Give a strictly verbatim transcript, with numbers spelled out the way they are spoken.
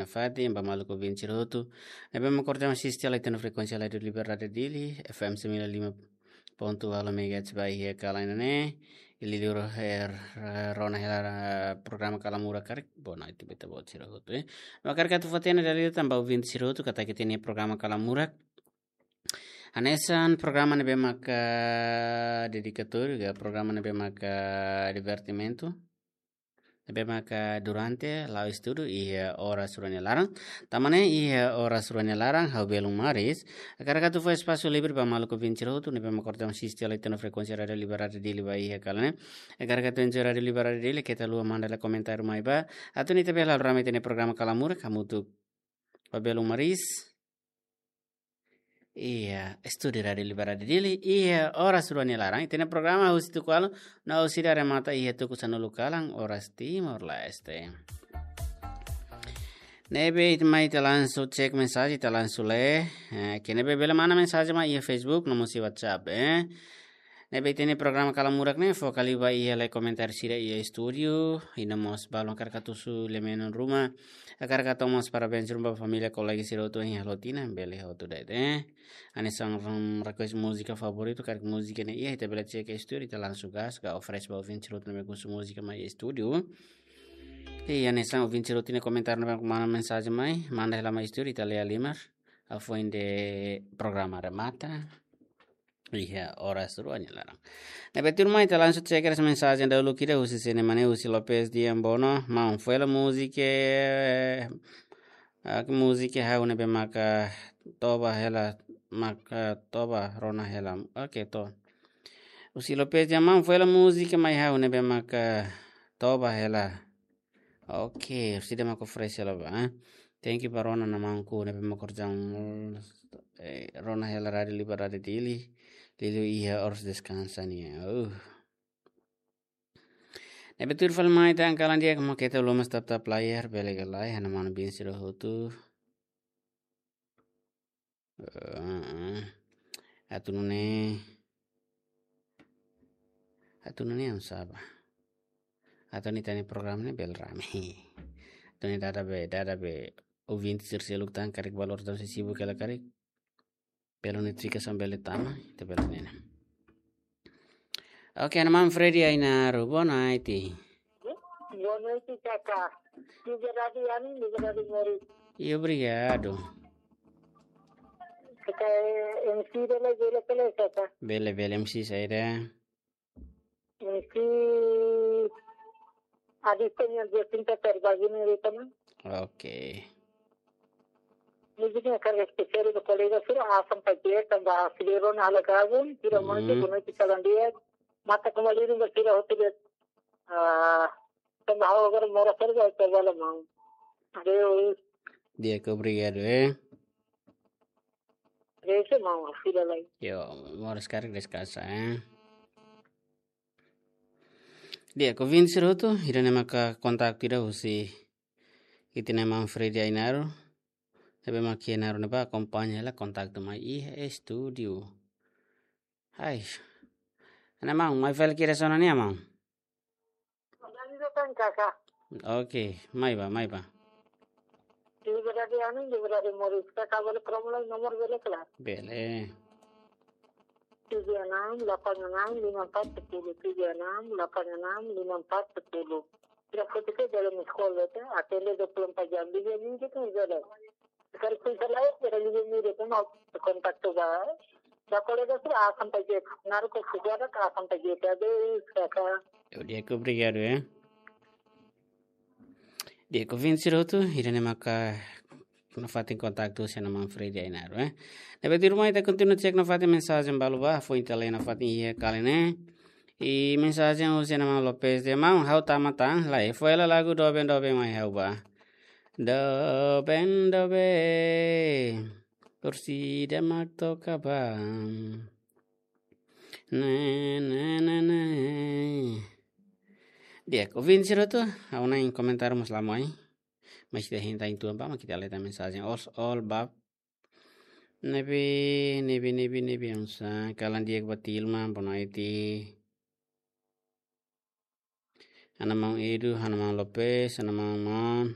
Fatin ba maluk ouvinte sira hotu ne'ebé mak kordam asiste hela iha frekuénsia Rádiu Liberdade Dili, F M sembilan lima ponto walu megahertz ba iha kalan ne'e. Liuliu rona hela programa Kalamurak karik, boa noite ba ita-boot sira hotu, eh. Hakarak atu fó-hatene dala ida tan ba ouvinte sira hotu katak ita-nia programa Kalamurak hanesan programa ne'ebé maka dedikatóriu, ka programa ne'ebé maka divertimentu, ne'ebé maka durante la'o estudu iha oras rua nia laran. Tanba ne'e iha oras rua nia laran ha'u belun maris hakarak atu fó espasu livre ba maluk ouvinte sira hotu ne'ebé mak kordam asiste hela iha frekuénsia Rádiu Liberdade Dili ba iha kalan ne'e. Hakarak atu enjoy Rádiu Liberdade Dili, keta haluha manda hela komentáriu mai ba, atu nune'e ita bele halo rame ita-nia programa Kalamurak hamutuk ho belun maris iha estúdiu Rádiu Liberdade Dili iha oras rua nia laran. Ita-nia programa husi tuku ualu no husi ida remata iha tuku sanulu kalan oras Timor-Leste. Ne'ebé ita mai ita langsung cek mensajen, ita langsung lee. Eh, ita ne'ebé bele manda mensajen mai iha Facebook no mós iha WhatsApp, eh. Ne'ebé ita-nia programa Kalamurak ne'e foka liu ba iha lee komentáriu sira iha estúdiu, i no mós balun hakarak atu husu lee-menon ruma, hakarak atu mós parabéns ruma ba família, kolega sira hotu iha loron ida-ne'e, bele hotu de'it, eh. Hanesan, mm, request múzika favoritu, karik múzika ne'e iha, ita bele cek iha estúdiu, ita langsung gas, ka oferese ba ouvinte sira hotu ne'ebé husu múzika mai estúdiu. I hanesan ouvinte sira hotu nia komentáriu ne'ebé manda mensajen mai, manda hela mai estúdiu, ita lee halimar hafoin de'it programa remata iha oras rua nia laran. Ne'ebé tuirmai ita langsung cek mensajen dahuluk ida husi sira-ne'e, husi Lopez Diambono, maun, fó hela múzika, eh, ah, múzika ha'u ne'ebé maka toba hela, maka toba rona hela. Oke, to. Husi Lopez Diambono, maun, fó hela múzika mai ha'u ne'ebé maka toba hela. Oke, husi ida maka oferese hela ba, eh. Thank you ba rona, maun, maun ne'ebé mak kordam, eh, rona hela Rádiu Liberdade Dili, liuliu iha oras deskansa nian. Uh. Ne'ebé tuir fali mai tan, kalan di'ak, mak keta haluha mós tap-tap layar, bele ka lae, ha'u-nia manu-bin sira hotu. Eh, atu nune'e, atu nune'e oinsá ba. Atu nune'e ita-nia programa ne'e bele rame. Atu nune'e dada be, dada be ouvinte sira seluk tan karik ba loron ida-ne'e sibuk hela karik. Bele notifikasaun bele tama, ita bele nune'e. Oke, ha'u-nia maun Freddy Ainaro, boa noite. Boa noite, Kaka. Liberdade ami, liberdade moris. E obrigado. Kaka, eh, M C bele, bele, bele, Kaka. Bele, bele, M C saida? M C Aditya nia dia cinta terbagi ni di teman. Oke. Múzika ne'e karik espesiál ba kolega sira, Asan Paje, tanba sira rona hela gabung, sira manu, hmm, boa noite, kalan di'ak. Mata kembali rindu sira hotu de'it. Ah, tanba ha'u agora moras sira ba ita bala mau. Adeus. Di'ak, obrigado, eh. Adeus, mau, fila lai. Yo, moras karik deskansa, eh. Di'ak, ouvinte sira hotu, ida-ne'e maka kontaktu ida husi ita-nia maun Freddy Ainaro. Ne'ebé mak Ainaro ne'ebá akompaña hela kontaktu mai iha estúdiu. Hai. Ha'u-nia maun, mai fali kira sona nia maun. Oke, mai ba, mai ba. Liberdade ami, liberdade moris. Kaka bele promo lai nomor bele kala. Bele. Tujuh enam delapan enam lima empat sepuluh, tujuh enam delapan enam lima empat sepuluh. Sira hotu ke dalam sekolah tu, atende dua puluh empat jam, dia ni kita jalan. Sekarang pun selain dari dia ni dia tu mau kontak tu ba. Ba kolega sira Asan Paje, Ainaro ke sejarah ke Asan Paje, Kaka. Yo, di'ak, obrigado, eh. Di'ak, ouvinte sira hotu, ida-ne'e maka nafatin kontaktu husi ha'u-nia maun Freddy Ainaro, eh. Ne'ebé tuirmai ita kontinua cek nafatin mensajen balu ba, foin ita lee nafatin iha kalan ne'e. I mensajen husi ha'u-nia maun Lopez dehan, maun, ha'u tama tan, lae, fó hela lagu Doben Doben mai ha'u ba. Doben, doben, torsida mak toka ba. Ne, ne, ne, ne. Di'ak, ouvinte sira hotu, ha'u hanoin komentáriu mós la mai. Mas ita hein tan tuan ba, mak ita lee tan mensajen. All, all ba. Ne'ebé, ne'ebé, ne'ebé, ne'ebé, oinsá, kalan di'ak ba Tilma, boa noite. Ha'u-nia maun Edu, ha'u-nia maun Lopez, ha'u-nia maun, maun.